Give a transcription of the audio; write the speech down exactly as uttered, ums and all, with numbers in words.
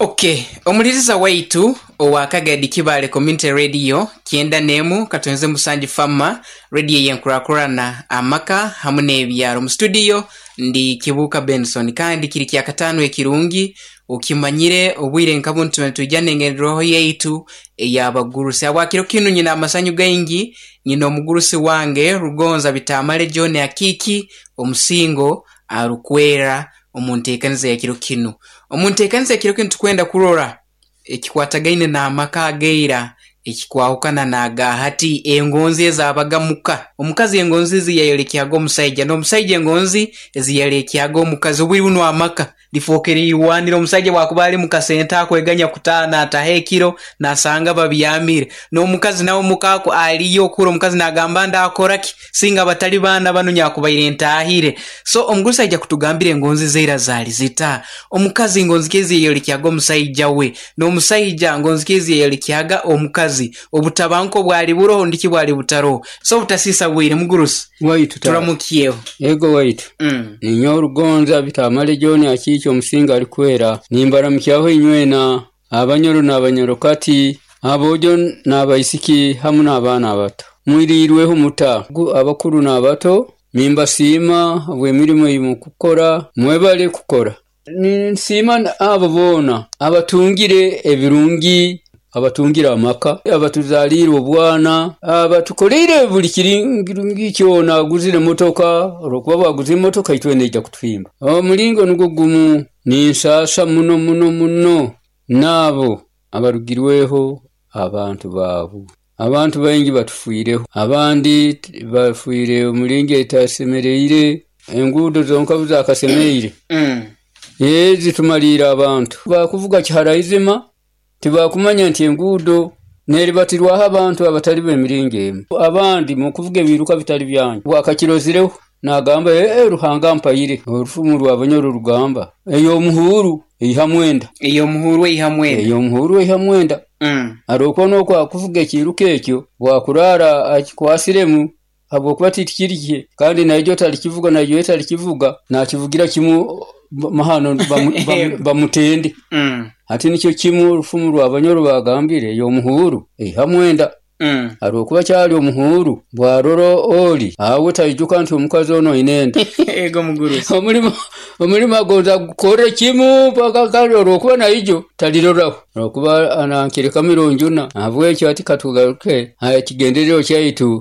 Okay, omuliriza waitu owa Kagadi Kibale Community Radio kyenda n'emu katonze musanju fama radio yenkurakurana amaka hamu n'ebyaro. Mu studio ndi Kibuuka Benson, kandi kiri kyakataano ekirungi okimanyire obwire nka bunu tuba nitwija n'engenderwaho yaitu ey'abagurusi. Habwakiro kinu nyina amasanyu gaingi, nyina omugurusi wange Rugonza Bitamale John Akiiki omusingo arukwera omu nteekaniza ya kiro kinu. Omu nteekaniza ya kiro kinu tukwenda kurora ekikwatagaine n'amaka agaira ekikwahukana n'aga hati, engonzi ezaabaga muka. Omukazi engonzi ezi yayolekyaga omusaija, n'omusaija engonzi ezi yalekyaga omukazi. Obwire bunu amaka lifookere irwaniro. Omusaija bwakuba ali mu kasente akweganya kutaana ataha ekiro nasanga babyamire, n'omukazi nawe mukaako aliyo okura omukazi nagamba ndakora ki singa batali baana banu nyakubaire ntaahire. So omugurusi aija kutugambira engonzi zeira zaali zita, omukazi ngonzi ki ezi yayolekyaga omusaija we, n'omusaija ngonzi ki ezi yayolekyaga omukazi, obutabanguko bwali buroho ndiki bwali butaroho. So obutasiisa bwire mugurusi, waitu turamukyeho. Ego waitu. Mm. Ninyowe Rugonza Bitamale John Akiiki omusinga alikwera, nimbaramukyaho inywena abanyoro n'abanyorokati, aboojo n'abaisiki hamu n'abaana abato. Mwiriirweho muta abakuru n'abato, nimbasiima habw'emirimo ei mukukora, mwebale kukora. Ninsiima abo boona abatungire ebirungi, abatungire amaka, abatuzaliire obwana, abatukoleire buli kirungi kyona, aguzire emotoka, olwokuba bwaguza emotoka itwena eija kutuhimba. Omulingo nugwo gumu ninsaasa muno muno muno n'abo abarugirweho abantu baabu. Abantu baingi batufiireho, abandi bafiire omulingo etasemereire, enguudo zonka buzakasemeire. Mm. Ee zitumaliire abantu. Bakuvuga kiharaizima tibakumanya nti enguudo neribatirwaho abantu abatali b'emiringo emu. Abandi mukuvuga ebiruka bitali byanyu. Bwakakirozireho nagamba ee Ruhanga ampaire. Orufumu rw'Abanyoro rugamba ey'omuhuuru eiha mwenda. Ey'omuhuuru eiha mwenda. Ey'omuhuuru eiha mwenda. Mm. Arokwo n'okwo akuvuga ekiruka ekyo bwakuraara akikwasiremu habwokuba tikiri kye, kandi naijo talikivuga naijo talikivuga nakivugira kimu mahano bamutende. Mm. Hati nikyo kimu orufumu rw'Abanyoro bagambire ey'omuhuuru eiha mwenda. Mm. Arwokuba kyali omuhuuru bwarora oli awe taijuka nti omukazi ono aine enda. Ego mugurusi. Omulimo omulimo agonza gukore kimu paka kale olwokuba naijo taliroraho olwokuba anankireka mirungi habwekyo hati katugaruke aha kigendererwa kyaitu.